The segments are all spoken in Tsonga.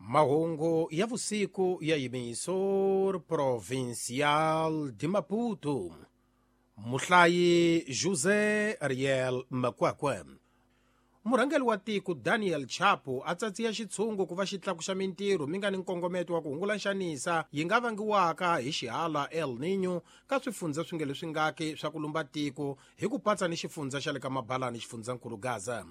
Mahungu ya vusiku ya Emissor Provincial de Maputo. Muhlayi José Ariel Makwakwe. Murhangeri wa tiko Daniel Chapo a tsatsiya xitshungu ku va xi tlakuxa mintirho mi nga ni nkongometo wa ku hungula nxanisa yi nga vangiwaka hi xihala El Niño ka swifundza swi nge leswi ngaki swa ku lumba tiko hi ku patsa ni xifundza xa le ka Mabalani xifundzankulu Gaza.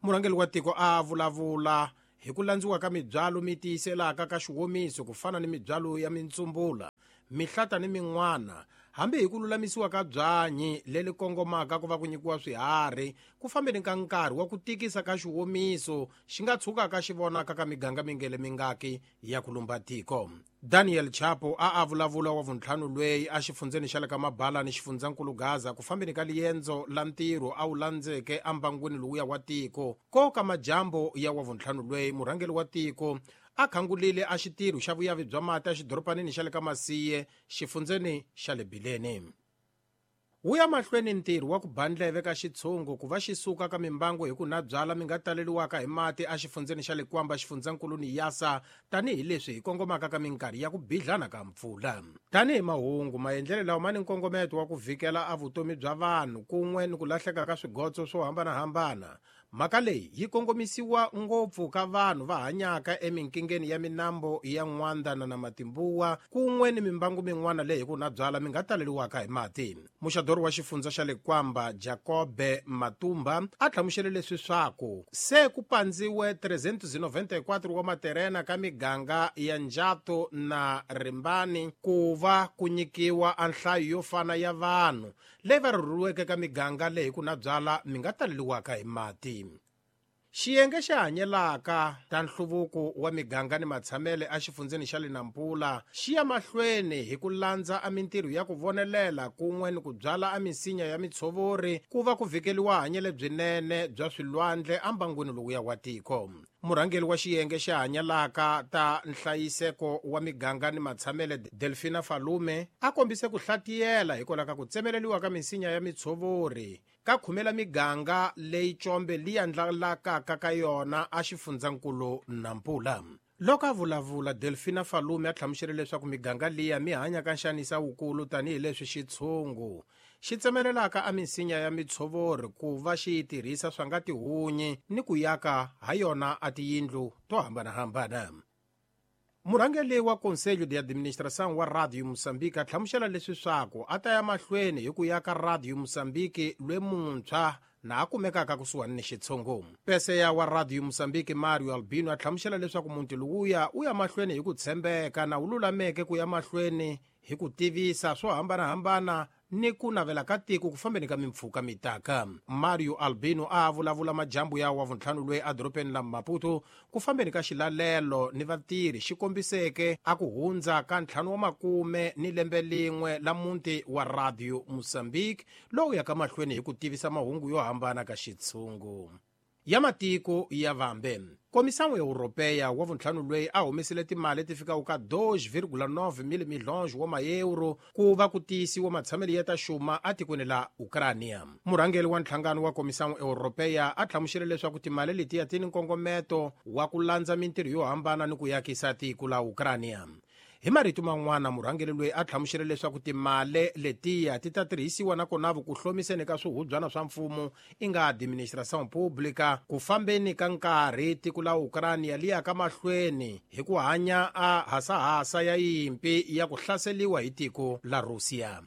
Murhangeri wa tiko a vulavula hi ku landziwa ka mibyalo mi tiyiselaka ka xiwomiso ku fana ni mibyalo ya mintsumbula, mihlata ni min'wana, hambi hi ku lulamisiwa ka byanyi leri kongomaka ku va ku nyikiwa swiharhi ku fambeni ka nkarhi wa ku tikisa ka xiwomiso xi nga tshukaka xi vonaka ka miganga mingele mingaki ya ku lumba tiko. Daniel Chapo a a vulavula wa vuntlhanu lweyi a xifundzeni xa le ka Mabalani xifundzankulu Gaza ku fambeni ka liendzo la ntirho a wu landzeke embangwini lowuya wa tiko. Ko ka majambu ya wa vuntlhanu lweyi murhangeri wa tiko a khangulile a xitirho xa vuyavi bya mati exidoropanini xa le ka Masiye xifundzeni xa le Bileni. Wu ya mahlweni ntirho wa ku ba ndleve ka xitshungu ku va xi suka ka mimbangu hi ku na byala mi nga taleliwaka hi mati exifundzeni xa le Kwamba xifundzankulu ni Yasa tanihileswi hi kongomaka ka minkarhi ya ku bidlana ka mpfula. Tanihi mahungu, maendlelo lawa ma ni nkongometo wa ku vhikela a vutomi bya vanhu kun'we ni ku lahleka ka swigotso swo hambanahambana. Mhaka leyi yi kongomisiwa ngopfu ka vanhu va hanyaka eminkingeni ya minambo ya N'wanda na Namatimbuwa kun'we ni mimbangu min'wana leyi hi ku na byala mi nga taleliwaka hi mati. Muxadori wa xifundza xa le Kwamba Jacobe Matumba a hlamusele leswi swaku se ku pandziwe 394 wa materena ka miganga ya Njato na Rimbani ku va ku nyikiwa a nhlayo yo fana ya vanhu leyi va rhurhiweke ka miganga leyi ku na byala mi nga taleliwaka hi mati. Xiyenge xa hanyelaka ta nhluvuko wa miganga ni matshamele exifundzeni xa le Nampula xi ya mahlweni hi ku landza a mintirho ya ku vonelela kun'we ni ku byala a misinya ya mitshovori ku va ku vhikeliwa hanyele byinene bya swilwandle embangwini lowuya wa tiko. Murhangeri wa xiyenge xa hanyelaka ta nhlayiseko wa miganga ni matshamele Delphina Falume a kombise ku hlatiyela hikwalaho ka ku tsemeleliwa ka misinya ya mitshovori ka khumela miganga leyi combe liya ndlalakaka ka yona a xifundzankulu Nampula. Loko a vulavula, Delphina Falume a hlamusele leswaku miganga liya mi hanya ka nxanisa wukulu tanihileswi xitshungu xi tsemelelaka a misinya ya mitshovori ku va xi yi tirhisa swa nga tihunyi ni ku yaka ha yona a tiyindlu to hambanahambana. Murhangeri wa Conselho de Administração wa Radio Moçambique a hlamusela leswi swaku a ta ya mahlweni hi ku ya ka Radio Moçambique lwe muntshwa na a kumekaka kusuhani ni xitshungu. Peseya wa Radio Moçambique Mario Albino a hlamusela leswaku muti lowuya u ya mahlweni hi ku tshembeka na wu lulameke ku ya mahlweni hi ku tivisa swo hambanahambana ni ku navela ka tiko ku fambeni ka mimpfhuka mitaka. Mario Albino a vulavula majambu ya wa vuntlhanu lweyi edorobeni la Maputo ku fambeni ka xilalelo ni vatirhi xi kombiseke a ku hundza ka 50 ni lembe lin'we la muti wa Radio Moçambique lowu yaka mahlweni hi ku tivisa mahungu yo hambana ka xitshungu ya matiko ya vambe. Komisão Europeia wa vuntlhanu lweyi a humesile timali ti fikaka ka 2,9 milhões wa maeuro ku va ku tiyisiwa matshamelo ya ta xuma etikweni la Ukrania. Murhangeri wa nhlangano wa Komisão Europeia a hlamusele leswaku timali letiya ti ni nkongometo wa ku landza mintirho yo hambana ni ku yakisa tiko la Ukrania. Hi marito man'wana, murhangeri loyi a hlamusele leswaku timali letiya ti ta tirhisiwa nakona ku hlomiseni ka swihubyana swa mfumo i nga administração pública ku fambeni ka nkarhi tiko la Ukrania li yaka mahlweni hi ku hanya a hasahasa ya yimpi ya ku hlaseliwa hi tiko la Russia.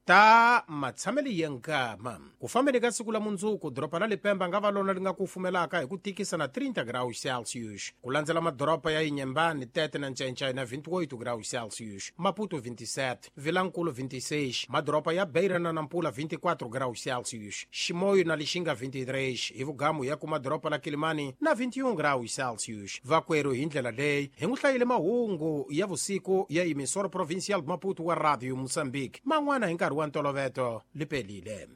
Ta matshamelo ya nkama ku fambeni ka siku la mundzuku doroba la Lipemba nga va lona li nga kufumelaka hi ku tikisa na 30 graus Celsius ku landzela madoroba ya Inhambane, Tete na Ncencai na 28 graus Celsius, Maputo 27, Vilankulu 26, madoroba ya Beira na Nampula 24 graus Celsius, Chimoio na Lixinga 23, hi vugamu ya kuma doroba la Kilimani na 21 graus Celsius. Vakwerhu hi ndlela leyi hi n'wi hlayile mahungu ya vusiku ya Emissora Provincial Maputo wa Radio Moçambique man'wana hi nkarhi wa ntoloveto lipelile.